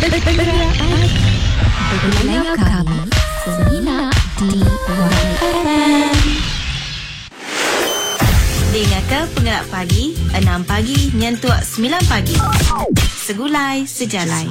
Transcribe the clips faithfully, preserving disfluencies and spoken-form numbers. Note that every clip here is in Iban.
Pendengar kami semina di Y F M. Dengarkan Pengerak Pagi enam pagi nyentuk sembilan pagi. Segulai Sejalai.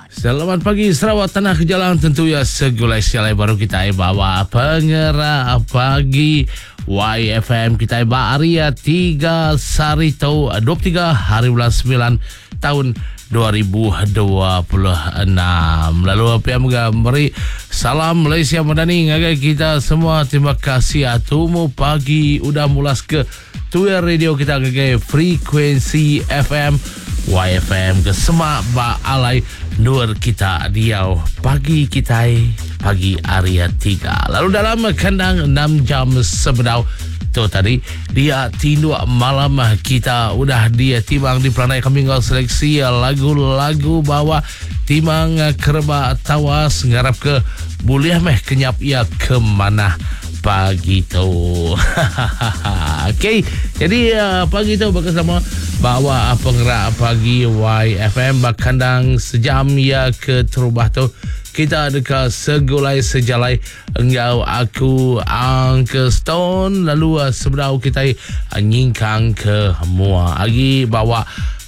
Selamat pagi, Sarawak Tanah Kejalang, tentu ya segulai sejalai baru kita bawa Pengerak Pagi Y F M kita ba hari tiga Sarito dua puluh tiga hari bulan sembilan tahun dua ribu dua puluh enam. Lalu apa yang beri salam Malaysia Madani ngagai kita semua. Terima kasih tumu pagi udah mulas ke Tuir radio kita ngagai frekuensi F M Y F M ke semak ba alai nur kita diau pagi kita pagi hari tiga. Lalu dalam kandang enam jam sebedau tu tadi dia tinduk malam kita udah dia timang di pelanai kami ngau seleksi lagu-lagu bawa timang kereba tawas ngarap ke boleh meh kenyap ia ke mana pagi tu. Okey, jadi uh, pagi tu bersama bawa Pengerak Pagi Y F M bakandang sejam ya ke terubah tu kita dekat segulai sejalai engau aku Uncle Stone. Lalu uh, sebelah kita uh, nyingkang ke mua agi bawa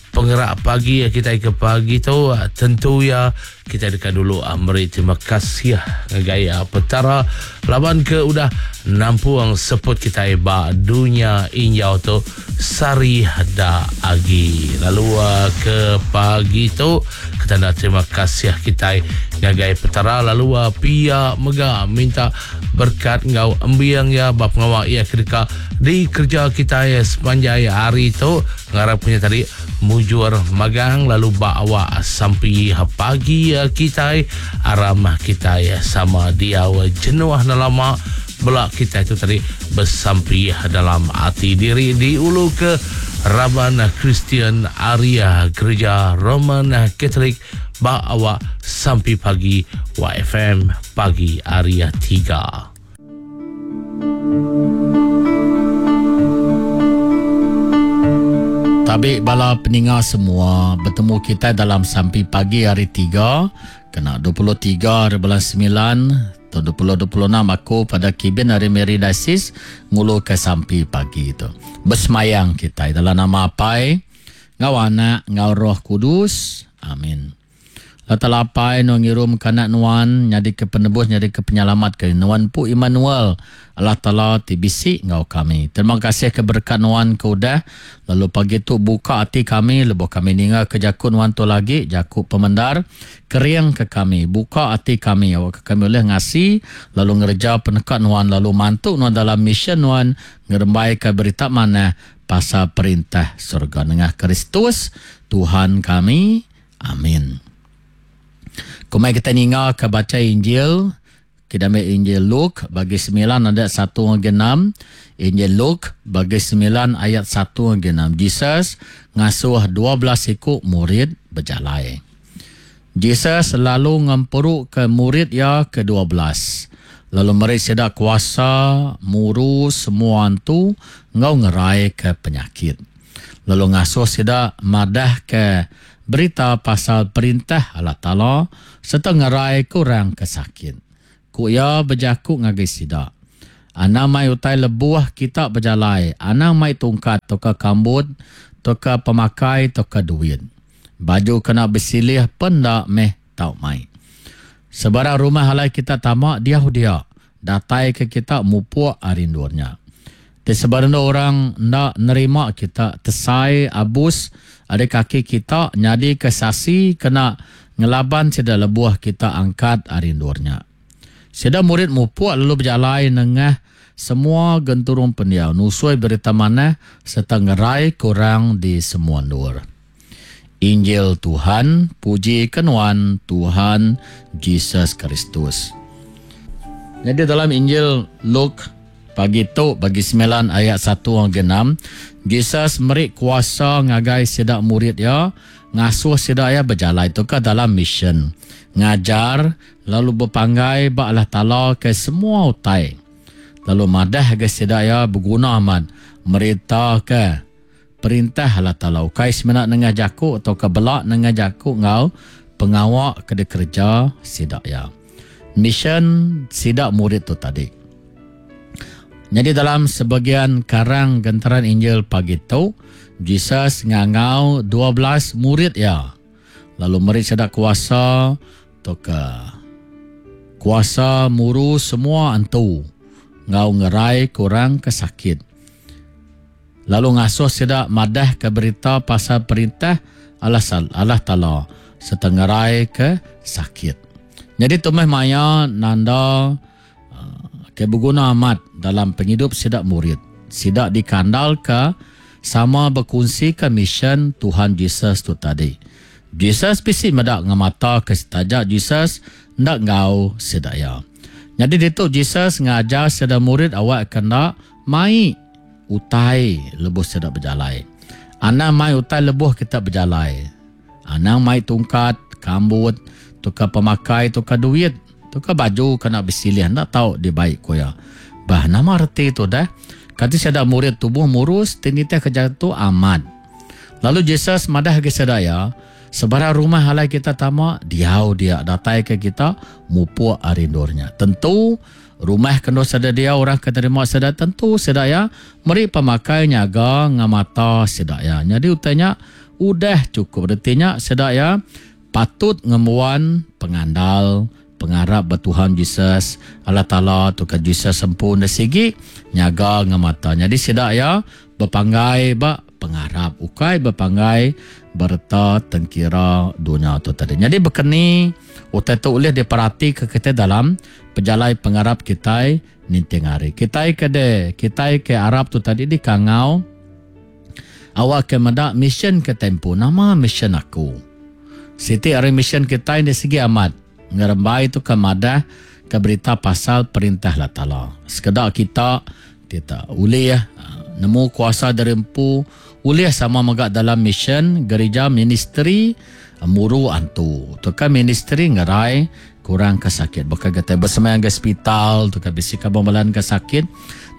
Pengerak Pagi kita ke pagi tu, tentu ya kita dekat dulu meri terima kasih ngagai petara laban ke udah nampuang seput kita ba dunia injau tu sari da agi. Lalu ke pagi tu kita nak terima kasih kita ngagai petara, lalu pia mega minta berkat ngau embiang ya ba pengawak ya kedeka di kerja kita ya sepanjang hari tu, ngarap punya tadi mujur magang. Lalu bawa sampai pagi kita aram kita ya sama dia jenuh lama belak kita itu tadi bersampi dalam hati diri di ulu ke Raban Kristian Arya Gereja Roman Katolik ba awak sampai pagi Y F M pagi Arya tiga. Tabi bala peninga semua, bertemu kita dalam sampi pagi hari tiga kena dua puluh tiga hari bulan sembilan tahun dua ribu dua puluh enam. Aku pada Kibin hari Mary Dasis ngulu ke sampi pagi itu. Bersemayang kita dalam nama Apai, ngau anak, ngau Roh Kudus. Amin. Allah Apai nu ngirum kanak nuan nyadi ke penebus, nyadi ke penyelamat ke nuan pu Immanuel, Allah Ta'ala ti bisi ngau kami. Terima kasih ke berkat nuan ke udah. Lalu pagi tu buka hati kami lebuh kami ninga ke jakut nuan tu lagi jakut pemendar kering ke kami, buka hati kami awak ke kami boleh ngasi lalu ngerja penekat nuan lalu mantuk nuan dalam mission nuan ngerembai ke berita mana pasal perintah surga nengah Kristus Tuhan kami. Amin. Kumai kita ninga ke baca Injil. Kita ambil Injil Luke bagi sembilan ayat satu hingga enam. Injil Luke bagi sembilan ayat satu hingga enam. Jesus ngasuh dua belas ikut murid berjalai. Jesus lalu ngempuruk ke murid ya ke dua belas. Lalu mereka sedak kuasa muru semua antu ngau ngerai ke penyakit. Lalu ngasuh sedak madah ke berita pasal perintah Allah Ta'ala serta ngerai kurang kesakit. Ku ia berjakuk ngagai sidak. Anang mai utai lebuh kita berjalai. Anang mai tungkat toka kambut, toka pemakai, toka duit. Baju kena bersilih pendak meh tau mai. Sebarang rumah halai kita tamak dia dia. Datai ke kita mupuk arindurnya. Di sebarang orang nak nerima kita tesai abus ada kaki kita nyadi kesasi kena ngelaban sida lebuh kita angkat arindurnya. Sida murid mupuk lalu berjalai nengah semua genturung pendiau nusui berita mana serta ngerai kurang di semua nur. Injil Tuhan, puji kenuan Tuhan Jesus Kristus. Jadi dalam Injil Luke pagi tu bagi sembilan ayat satu hingga enam, Jesus meri kuasa ngagai sidak murid ya ngasuh sidak ya berjalai tu ke dalam mission ngajar lalu berpanggai ba Allah Taala ke semua utai, lalu madah ke sidak ya berguna amat merita ke perintah Allah Taala ukai semenak nengah jaku atau ke belak nengah jaku ngau pengawa ke dikerja sidak ya. Mission sidak murid tu tadi. Jadi dalam sebagian karang genteran Injil pagi tu, Jesus ngangau dua belas murid ya. Lalu murid sidak kuasa tu ke kuasa muru semua antu ngau ngerai kurang ke sakit. Lalu ngasuh sidak madah ke berita pasal perintah Allah, Allah Ta'ala serta ngerai ke sakit. Jadi tu meh maya nanda ke berguna amat dalam penghidup sidak murid. Sidak dikandal ke sama berkongsi ke mission Tuhan Jesus tu tadi. Jesus bisi medak ngemata ke setajak Jesus ndak ngau sidak ya. Jadi ditu Jesus ngajar sidak murid awak kena mai utai lebuh sidak berjalai. Anang mai utai lebuh kita berjalai. Anang mai tungkat, kambut, tukar pemakai, tukar duit, tukar baju kena bersilih, nak tahu dia baik koya. Bah nama reti tu dah. Kata sidak murid tubuh murus tinitah kerja tu amat. Lalu Jesus madah ke sidak ya, sebarang rumah halai kita tamak, diau dia datai ke kita mupuk arindurnya. Tentu rumah kena sada dia orang keterima sada tentu sidak ya, meri pemakai nyaga ngamata sidak ya. Jadi utanya udah cukup retinya sidak ya patut ngemuan pengandal pengarap bertuhan Jesus Allah Ta'ala tu ke Jesus sempurna sigi nyaga ngamata. Jadi sidak ya berpanggai ba pengarap ukai berpanggai berta tengkira dunia tu tadi. Jadi berkeni utai tu boleh diperhati ke kita dalam pejalai pengarap kita ninting hari. Kita ke de, kita ke Arab tu tadi di kangau awak ke medak mission ke tempo nama mission aku. Siti hari mission kita ini segi amat ngerembai tu ke madah ke berita pasal perintah Allah Ta'ala. Sekedar kita kita boleh ya nemu kuasa dari empu boleh sama megak dalam mission gereja ministry muru antu. Tu kan ministry ngerai kurang kesakit. Bukan kita bersemayang ke hospital, tu kan bisi kabambalan ke sakit.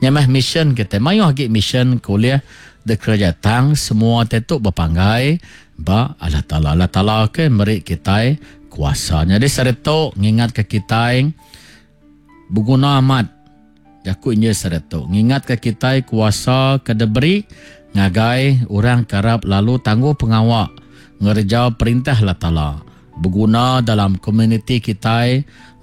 Nyamah mission kita mayuh agi mission kuliah de kerja tang semua tetuk berpanggai ba Allah Ta'ala. Allah Ta'ala ke merik kita kuasa. Jadi seretok ngingat ke kita berguna amat. Jaku inje seretok ngingat ke kita kuasa ke diberi ngagai orang kerap lalu tangguh pengawak ngerja perintah Allah Ta'ala. Berguna dalam komuniti kita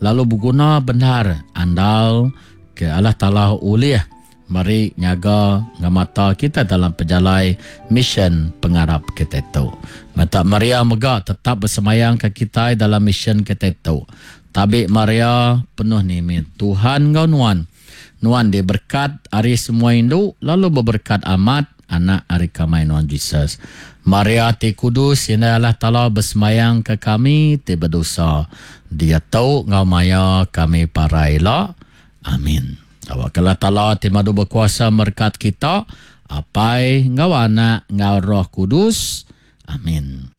lalu berguna benar andal ke Allah Ta'ala ulih mari nyaga ngamata kita dalam pejalai mission pengarap kita tu. Mata Maria mega tetap bersemayang ke kita dalam mission kita tu. Tabik Maria penuh nimit Tuhan ngau nuan. Nuan diberkat ari semua induk lalu berberkat amat anak ari kamai nuan Jesus. Maria ti kudus ina Allah Ta'ala bersemayang ke kami ti berdosa. Dia tahu ngau maya kami paraila. Amin. Awak Allah Ta'ala ti madu berkuasa merkat kita, apai ngau anak ngau Roh Kudus. Amin.